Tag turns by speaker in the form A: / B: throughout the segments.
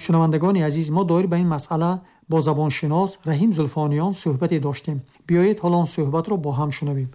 A: Шунавандагони азиз, мо доир ба ин масъала бо забоншинос Раҳим Зулфониён суҳбате доштем. Биёед, ҳоло он суҳбатро бо ҳам шунавем.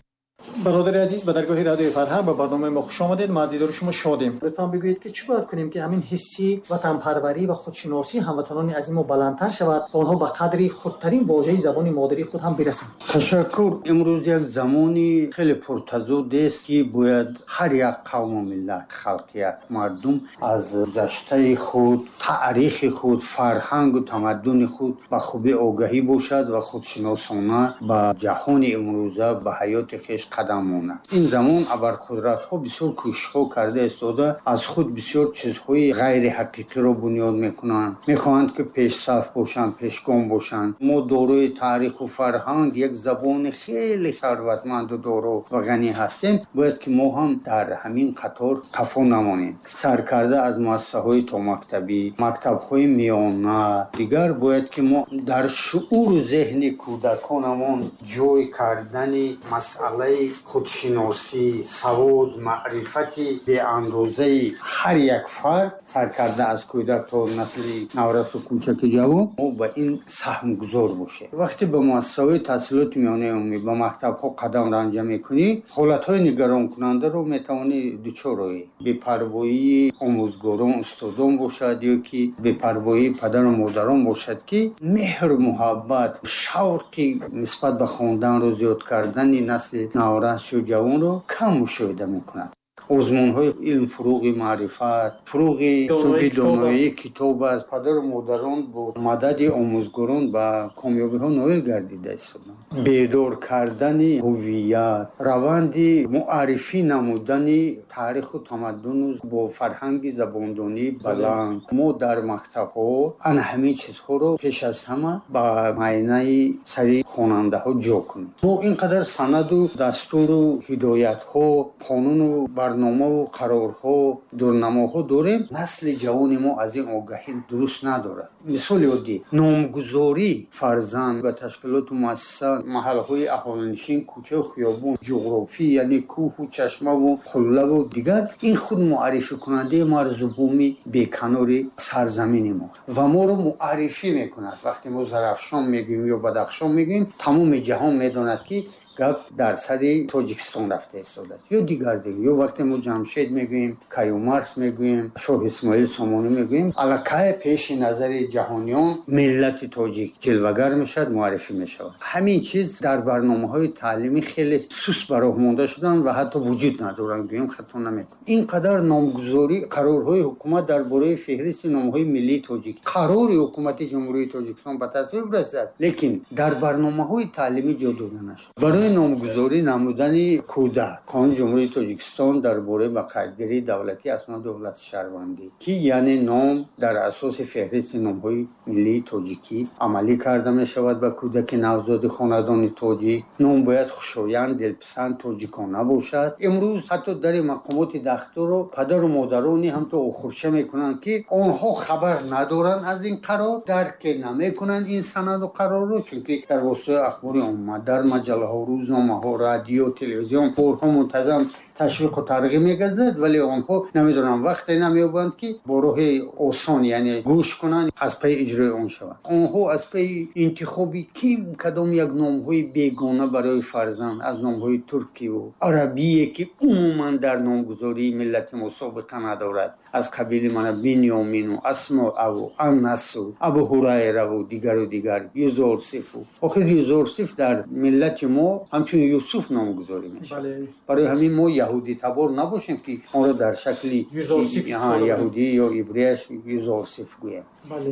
A: Бародари азиз, ба даргоҳи Радиои Фарҳанг, ба барномаи мо хуш омадед. Мо аз дидори шумо шодем. Лутфан бигӯед, ки чӣ бояд кунем, ки ҳамин ҳисси ватанпарварӣ ва худшиносии ҳамватанони азизи мо баландтар шавад ва онҳо ба қадри хурдтарин вожаи забони модарии худ ҳам бирасанд.
B: Ташаккур. Имрӯз як замони хеле пуртазод аст, ки бояд ҳар як қавму миллат, халқият, мардум аз гузаштаи худ, таърихи худ, фарҳангу тамаддуни худ ба хубӣ огаҳӣ бошад ва худшиносона ба ҷаҳони имрӯза, ба ҳаёти хеш қадам монад. Ин замон абарқудратҳо бисёр кӯшишҳо карда истода, аз худ бисёр чизҳои ғайриҳақиқиро бунёд мекунанд, мехоҳанд, ки пешсаф бошанд, пешгом бошанд. Мо дорои таъриху фарҳанг, як забони хеле сарватманду доро ва ғанӣ ҳастем. Бояд ки мо ҳам дар ҳамин қатор қафо намонем. Саркарда аз муассисаҳои томактабӣ, мактабҳои миёна, дигар бояд ки мо дар шууру зеҳни кӯдаконамон ҷой кардани масъалаи худшиносӣ, савод, маърифати беандозаи ҳар як фард, саркарда аз кӯдак то насли наврасу кӯчаки ҷавон, мо ба ин саҳмгузор бошем. Вақте ба муассисаҳои таҳсилоти миёнаи умумӣ, ба мактабҳо қадам ранҷа мекунӣ, ҳолатҳои нигаронкунандаро метавонӣ дучор оӣ. Бепарвоии омӯзгорон, устодон бошад ё ки бепарвоии падару модарон бошад, ки меҳру муҳаббат, шавқи нисбат ба хонданро зиёд кардани насли наврасу ҷавонро кам мушоҳида мекунад. Озмунҳои илм, фуруғи маърифат, фуруғи субҳи доноӣ китоб аст. Падару модарон бо мадади омӯзгорон ба комёбиҳо ноил гардида истоданд. Бедор кардани ҳувият, раванди муаррифӣ намудани таъриху тамаддуну бо фарҳанги забондонии баланд, мо дар мактабҳо ана ҳамин чизҳоро пеш аз ҳама ба майнаи сари хонандаҳо ҷо кунем. Мо ин қадар санаду дастуру ҳидоятҳо, қонуну барномаву қарорҳо, дурнамоҳо дорем, насли ҷавони мо аз ин огаҳӣ дуруст надорад. Мисоли оддӣ: номгузорӣ фарзанд ба ташкилоту муассиса, маҳаллаҳои аҳолинишин, кӯчаю хиёбон, ҷуғрофӣ, яъне кӯҳу чашмаву қуллаву дигар, ин худ муаррификунандаи марзу буми беканори сарзамини мо ва моро муаррифӣ мекунад. Вақте мо Зарафшон мегӯем ё Бадахшон мегӯем, тамоми ҷаҳон медонад, ки гап дар сари Тоҷикистон рафта истодааст ё дигар дигар. Ё вақте мо Ҷамшед мегӯем, Каюмарс мегӯем, Шоҳ Исмоил Сомонӣ мегӯем, аллакай пеши назари ҷаҳониён миллати тоҷик ҷилвагар мешавад, муаррифӣ мешавад. Ҳамин чиз дар барномаҳои таълимӣ хеле суст ба роҳ монда шуданд ва ҳатто вуҷуд надоранд, гӯем, хато намекунем. Ин қадар номгузорӣ, қарорҳои ҳукумат дар бораи феҳристи номҳои миллии тоҷик, қарори ҳукумати Ҷумҳурии Тоҷикистон ба тасвиб расидааст, лекин дар барномаҳои таълимӣ ҷо дода нашуд. Барои номгузорӣ намудани кӯдак, Қонуни Ҷумҳурии Тоҷикистон дар бораи ба қайдгирии давлатии асноди ҳолати шаҳрвандӣ, ки яъне ном дар асоси феҳристи номҳои миллии тоҷикӣ амалӣ карда мешавад, ба кӯдаки навзоди хонадони тоҷик ном бояд хушоянд, дилписанд, тоҷикона бошад. Имрӯз ҳатто дари мақомоти дахлдорро падару модарони ҳамто охурча мекунанд, ки онҳо хабар надоранд аз ин қарор, дарке намекунанд ин санаду қарорро, чунки дар воситаи ахбори омма, дар маҷаллаҳо, рӯзномаҳо, радио, телевизион борҳо мунтазам ташвиқу тарғиб мегардад, вале онҳо намедонанд, вақте намеёбанд, ки бо роҳи осон, яъне гӯш кунанд, аз пайи иҷрои он шаванд. Онҳо аз пайи интихоби ким кадом як номҳои бегона барои фарзанд, аз номҳои туркиву арабие, ки умуман дар номгузории миллати мо собиқа надорад, аз қабили мана Бинёмину, Асмоаву, Анасу, Абу Ҳурайраву, дигару дигар, Юзорсифу. Охир Юзорсиф дар миллати мо ҳамчун Юсуф номгузорӣ мешавад. Барои ҳамин мо яҳудитабор набошем, ки онро дар шакли яҳудӣ ё ибрияш Юзорсиф гӯем.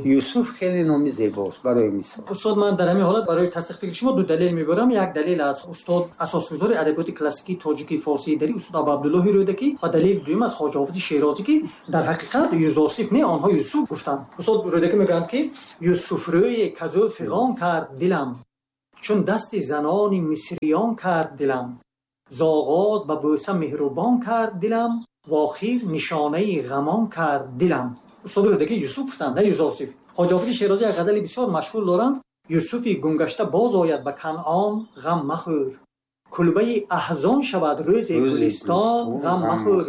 B: Юсуф хеле номи зебост, барои мисол.
A: Устод, ман дар ҳамин ҳолат барои тасдиқ фикри шумо ду далел мебарам. Як далел аз устод, асосгузори адабиёти классикии тоҷикии форсии дарӣ, устод Абу Абдуллоҳи Рӯдакӣ, ва далели дуюм аз Хоҷа Ҳофизи Шерозӣ, ки дар ҳақиқат Юзорсиф не, онҳо Юсуф гуфтанд. Устод Рӯдакӣ мегӯянд, ки Юсуф рӯе казӯ фиғон кард дилам, чун дасти занони мисриён кард дилам, зоғоз ба бӯса меҳрубон кард дилам, вохир нишонаи ғамон кард дилам. Устод Рӯдакӣ Юсуф гуфтанд, на Юзорсиф. Хоҷа Ҳофизи Шерозӣ як ғазали бисёр машҳур доранд: Юсуфи гумгашта боз ояд ба Канъон, ғам махӯр, кулбаи аҳзон шавад рӯзе гулистон, ғам махӯр,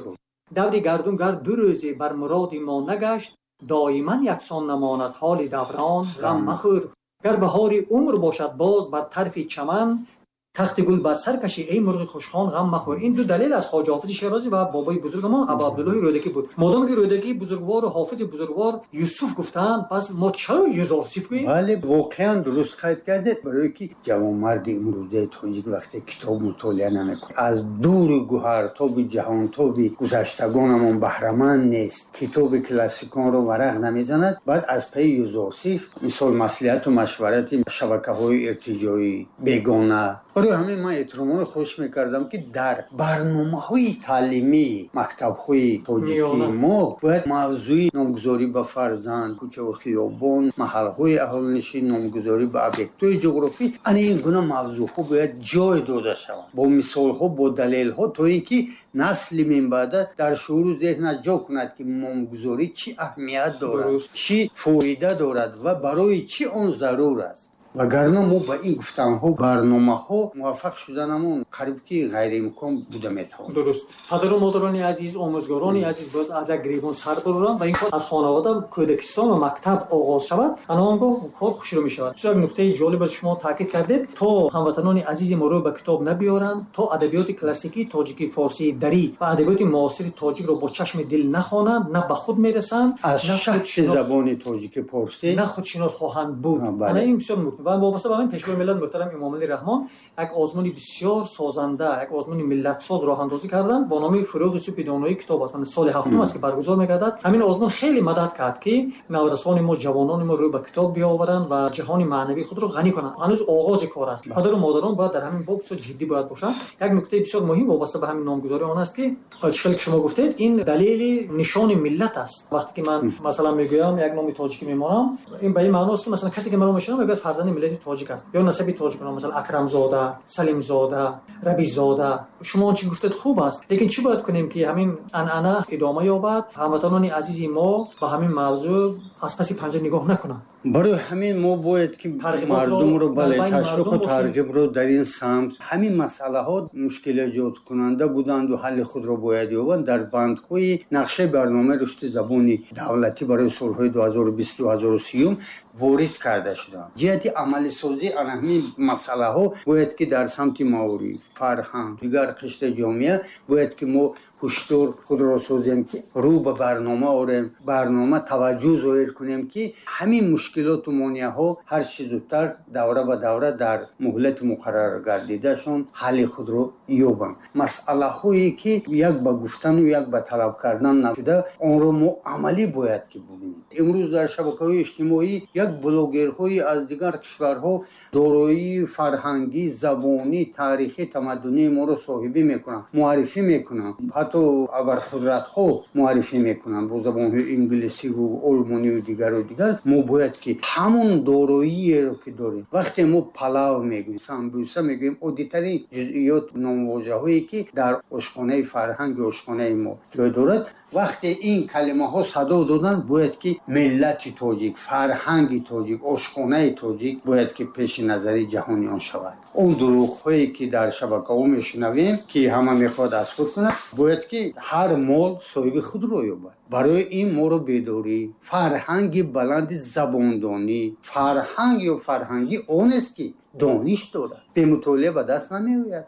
A: даври гардун гар ду рӯзе бар муроди мо нагашт, Доиман яксон намонад ҳоли даврон, ғам махӯр. Гар баҳори умр бошад боз бар тарфи чаман, тахти гул бар сар кашӣ эй мурғи хушхон, ғам махӯр. Ин ду далел аз Хоҷа Ҳофизи Шерозӣ ва бобои бузургамон Абу Абдуллоҳи Рӯдакӣ буд. Модоме ки Рӯдакӣ бузургвор ва Ҳофизи бузургвор Юсуф гуфтанд, пас мо чаро Юзорсиф гӯем?
B: Бале, воқеан дуруст қайд кардед, барое ки ҷавонмарди имрӯзаи тоҷик вақте китоб мутолиа намекунад, аз дуру гуҳартоби ҷаҳонтоби гузаштагонамон баҳраманд нест, китоби классиконро варақ намезанад, баъд аз пайи Юзорсиф, мисол маслиҳату машварати шабакаҳои иртиҷоӣ бегона. Барои ҳамин ман эҳтиромона хоҳиш мекардам, ки дар барномаҳои таълимии мактабҳои тоҷикии мо бояд мавзӯи номгузорӣ ба фарзанд, кӯчаву хиёбон, маҳалҳои аҳолинишин, номгузорӣ ба объектҳои ҷуғрофӣ, ана ин гуна мавзӯъҳо бояд ҷой дода шаванд бо мисолҳо, бо далелҳо, то ин ки насли минбаъда дар шууру зеҳнаш ҷо кунад, ки номгузорӣ чӣ аҳамият дорад, чӣ фоида дорад ва барои чӣ он зарур аст. Вагарна мо ба ин гуфтанҳо, барномаҳо муваффақ шуданамон қариб ки ғайриимкон буда метавонад.
A: Дуруст. Падару модарони азиз, омӯзгорони азиз бояд аз як гиребон сар бароранд ва ин кор аз хонавода, кӯдакистон ва мактаб оғоз шавад. Ана он гоҳ кор хушрӯ мешавад. Як нуктаи ҷолиб аз шумо таъкид кардед, то ҳамватанони азизи мо рӯ ба китоб набиёранд, то адабиёти классикии тоҷикӣ, форсии, дарӣ ва адабиёти муосири тоҷикро бо чашми дил нахонанд, на ба худ мерасанд,
B: аз шахси забони тоҷики форсӣ
A: на худшинос хоҳанд буд. Ана ин бисёр муҳим. Ва вобаста ба ҳамин Пешвои миллат муҳтарам Эмомалӣ Раҳмон як озмуни бисёр созанда, як озмуни миллатсоз роҳандозӣ карданд бо номи Фурӯғи субҳи доноии китоб аст. Соли ҳафтум аст ки баргузор мегардад. Ҳамин озмун хеле мадад кард, ки наврасони мо, ҷавонони мо рӯ ба китоб биёваранд ва ҷаҳони маънавии худро ғанӣ кунанд. Ҳанӯз оғози кор аст. Падару модарон бояд дар ҳамин боб бисёр ҷиддӣ бояд бошанд. Як нуктаи бисёр муҳим вобаста ба ҳамин номгузорӣ он аст, ки чӣ хеле ки шумо гуфтед, ин далели нишони миллат аст. Вақте ки ман масалан мегӯям як номи тоҷикӣ мемонам, ин ба ин маъно аст, ки масалан касе ки маро мешиносад мегӯяд фарзанди миллати тоҷик аст, ё насаби тоҷик, масалан Акрамзода, Салимзода, Рабизода. Шумо он чӣ гуфтед хуб аст, лекин чӣ бояд кунем, ки ҳамин анъана идома ёбад, ҳамватанони азизи мо ба ҳамин мавзӯъ аз паси панҷа нигоҳ накунанд?
B: Барои ҳамин мо бояд ки мардумро, бале, ташвиқу тарғибро дар ин самт, ҳамин масъалаҳо мушкилэҷодкунанда буданду ҳалли худро бояд ёбанд, дар бандҳои нақшаи барномаи рушди забони давлатӣ барои солҳои 2020-2030 ворид карда шуданд. Ҷиҳати амалисозии ана ҳамин масъалаҳо бояд ки дар самти маориф, фарҳанг, дигар қишри ҷомеа бояд ки мо ҳушдор худро созем, ки рӯ ба барнома орем, барнома таваҷҷӯҳ зоҳир кунем, ки ҳамин мушкилоту монеаҳо ҳар чӣ зудтар давра ба давра дар муҳлати муқарраргардидашон ҳалли худро ёбанд. Масъалаҳое ки як ба гуфтану як ба талаб кардан нашуда, онро мо амалӣ бояд ки бубинем. Имрӯз дар шабакаҳои иҷтимоӣ як блогерҳои аз дигар кишварҳо дороии фарҳангӣ, забонӣ, таърихӣ, тамаддунии моро соҳибӣ мекунанд, муаррифӣ мекунанд, ҳатто абарқудратҳо муаррифӣ мекунанд бо забонҳои инглисиву олмониву дигару дигар. Мо бояд ки ҳамон дороиеро ки дорем, вақте мо палав мегӯем, самбуса мегӯем, оддитарин ҷузъиёт, номвожаҳое ки дар ошхонаи фарҳанги ошхонаи мо ҷой дорад, вақте ин калимаҳо садо доданд, бояд ки миллати тоҷик, фарҳанги тоҷик, ошхонаи тоҷик бояд ки пеши назари ҷаҳониён шавад. Он дурӯғҳое ки дар шабакаҳо мешунавем, ки ҳама мехоҳад аз худ кунад, бояд ки ҳар мол соҳиби худро ёбад. Барои ин моро бедорӣ, фарҳанги баланди забондонӣ, фарҳанг ё фарҳангӣ он аст, ки дониш дорад, бемутолиа ба даст намеояд.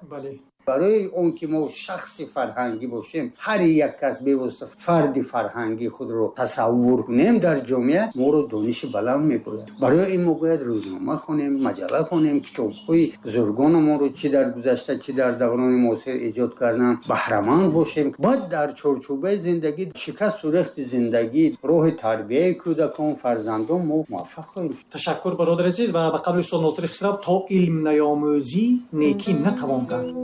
B: Барои он ки мо шахси фарҳангӣ бошем, ҳар як кас бевосита фарди фарҳангӣ худро тасаввур кунем дар ҷомеа, моро дониши баланд мебояд. Барои ин мо бояд рӯзнома хонем, маҷалла хонем, китобҳои бузургонамонро чӣ дар гузашта, чӣ дар даврони муосир эҷод кардан баҳраманд бошем. Баъд дар чорчӯбаи зиндагӣ, шикасту рехти зиндагӣ, роҳи тарбияи кӯдакон, фарзандон мо муваффақ хоҳем шуд.
A: Ташаккур, бародари азиз, ва ба қавли устод Носири Хисрав, то илм наёмӯзӣ некӣ натавон кард.